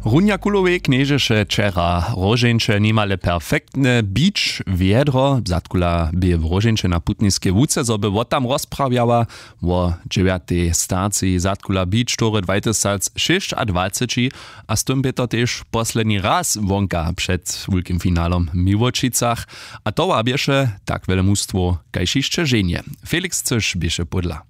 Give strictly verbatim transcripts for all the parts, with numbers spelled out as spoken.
Runja kulowej knježeše wčera róžeńće nimale perfektne bić wjedro. Zadkula bě w róžeńće na putniskej łuce, zo by wot tam rozprawjała wo dźewjatej staciji zadkula bić tory dwajtysacšěsćadwaceći. A z tym bě to tež posledni raz wonka před wulkim finalom w miłočicach. A towa běše tak wjele mustwow kaž hišće ženje. Felix cyš běše pódla.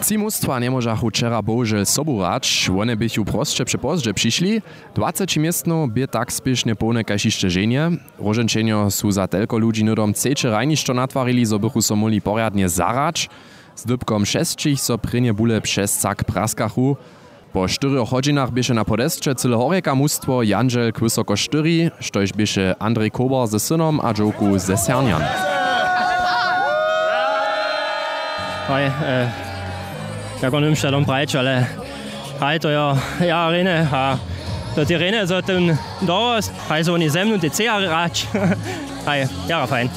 Tři mustwa njemóžachu wčera bohužel sobu hrać, wone běchu prosće přepozdźe přišli. Dwaceći městnow bě tak spěšnje połne kaž hišće ženje. Róžeńčenjo su za telko ludźi hnydom třeće hrajnišćo natwarili, zo bychu so móhli porjadnje zahrać. Z dypkom šesćich so prěnje bule přez cak praskachu. Po štyrjoch hodźinach běše na podesće cyle horjeka mustwo jandźel k wysoko štyri, štož běše andrej kober ze synom a dźowku ze sernjan. Haj, jako nymšta dom prajć, ale haj, to jo, ja rejne a to ty rejne zo tym dorost, haj, zo woni ze mnu ty ceja hrać. Haj, jara fajn.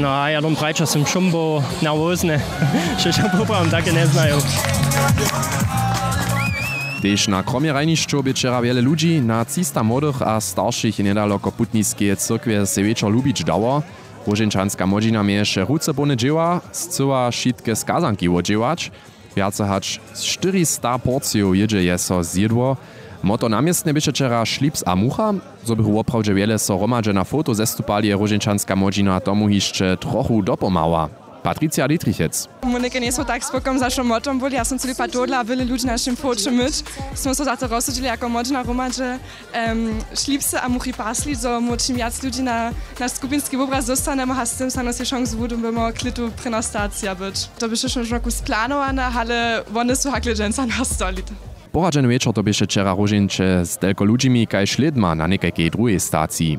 No, ja dom prajć a sym šumbow nerwozny. Šećo poprawom take njeznaju. Tež na kromjerajnišću bě wčera wjele ludźi. Na třista młodych a staršich je njedaloko putniskeje cyrkwje sej wječor lubić dało. Róžeńčanska młodźina měješe ruce połne dźěła, scyła wšitke skazanki wodźěłać. Wjace hač štyrista porcijow jědźe je so zjědło. Motto na městnje běše wčera šlips a mucha. Zo bychu woprawdźe wjele so hromadźe na foto zestupali, je róžeńčanska młodźina tomu hišće trochu dopomhała. Patricija Dietrichec. Mónike njejsmy tak spokom za wšom mottom byli, ja som cyli pad tohodla a wjele ludźi na našim foće myć. Smy so za to rozsudźili jako młodźina hromadźe šlipsy a muchi pasli, zo móhł čim wjac ludźi na naš skupinski wobraz dóstanemy a z tym snano sej šansu wudymy klětu prěna stacija być. To běše wšo žoku splanowane, ale wone su hakle dźensa nastali. Poradźeny wječor to běše wčera róžeńće z telko ludźimi kaž lědma na někajkej druhej staciji.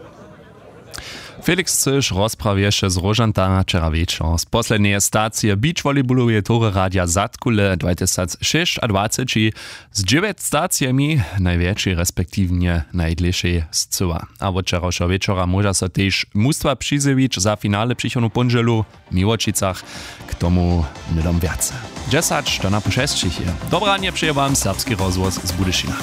Felix cyš rozprawješe z róžantama wčera wječor z poslednjeje stacije beach volleyballoweje tory radja zadkule dwajtysacšěsćadwaceći. Z dźewjeć stacijemi najwjetšej respektiwnje najdlěšej scyła. A wot wčerawšeho wječora móža so tež mustwa přizjewić za finale přichodnu póndźelu w miłočicach. K tomu hnydom wjace. Dźesać do napoł šesćich je. Dobranje přeje wam serbski rozhłos z budyšina.